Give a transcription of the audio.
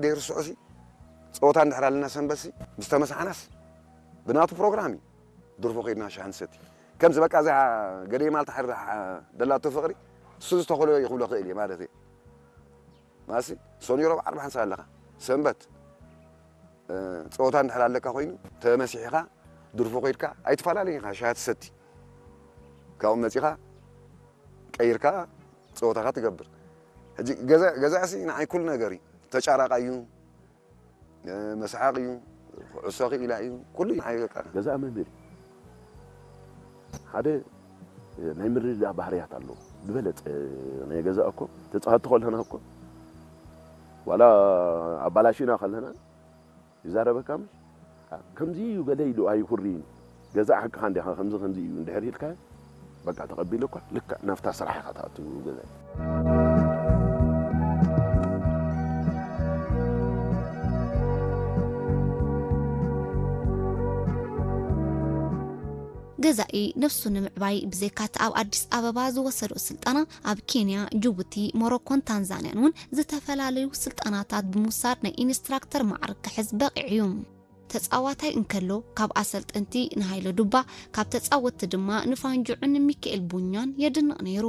ደይርስዑ ሲ ጸወታ እንድሕር ኣለና ሰንበት ሲ ምስ ተመሳሕናስ ብናቱ ፕሮግራም እዩ ድርፎ ከይድና ሻሂ ንሰቲ። ከምዚ በቃ እዛ ገደይ ማልታ ሕርዳ ደላቶ ፍቕሪ እሱ ዝተኸሎ ይኽብሎ ክእል እየ ማለት እየ። ማሲ ሶኒ ረብዓ ኣርባዕን ሰዓት ኣለኻ ሰንበት ጸወታ እንድሕር ኣለካ ኮይኑ ተመሲሕኻ ድርፎ ከይድካ ኣይትፈላለን ኢኻ ሻሂ ትሰቲ ካብኡ መጺኻ ቀይርካ ጸወታኻ ትገብር። ሕጂ ገዛእሲ ንዓይ ኩሉ ነገር እዩ። ተጫራቃ እዩ፣ መስሓቅ እዩ፣ ኩዕሶ ክኢላ እዩ፣ ኩሉ እዩ ንዓይ በቃ። ገዛእ መምህር እዩ። ሓደ ናይ ምርድዳእ ባህርያት ኣለዎ። ዝበለጸ ናይ ገዛእ እኮ ተጻወትቲ ከለና እኮ ዋላ ኣባላሽና ከለና ይዛረበካ ምሽ ከምዚ እዩ ገለ ኢሉ ኣይኩርን። ገዛ ሓቅኻ እንዲኻ ከምዚ ከምዚ እዩ እንድሕር ኢልካ በቃ ተቐቢሉ እኳ ልክዕ ናብታ ስራሕ ኢኻ ትኣቱ ገዛ። ገዛኢ ነብሱ ንምዕባይ ብዘይካቲ ኣብ ኣዲስ ኣበባ ዝወሰዶ ስልጠና ኣብ ኬንያ፣ ጅቡቲ፣ ሞሮኮን ታንዛንያን እውን ዝተፈላለዩ ስልጠናታት ብምውሳድ ናይ ኢንስትራክተር ማዕርግ ክሕዝ በቒዑ እዩ። ተጻዋታይ እንከሎ ካብ ኣሰልጠንቲ ንሃይለ ዱባ፣ ካብ ተጻወትቲ ድማ ንፋንጅዑን ንሚካኤል ቡኛን የድንቕ ነይሩ።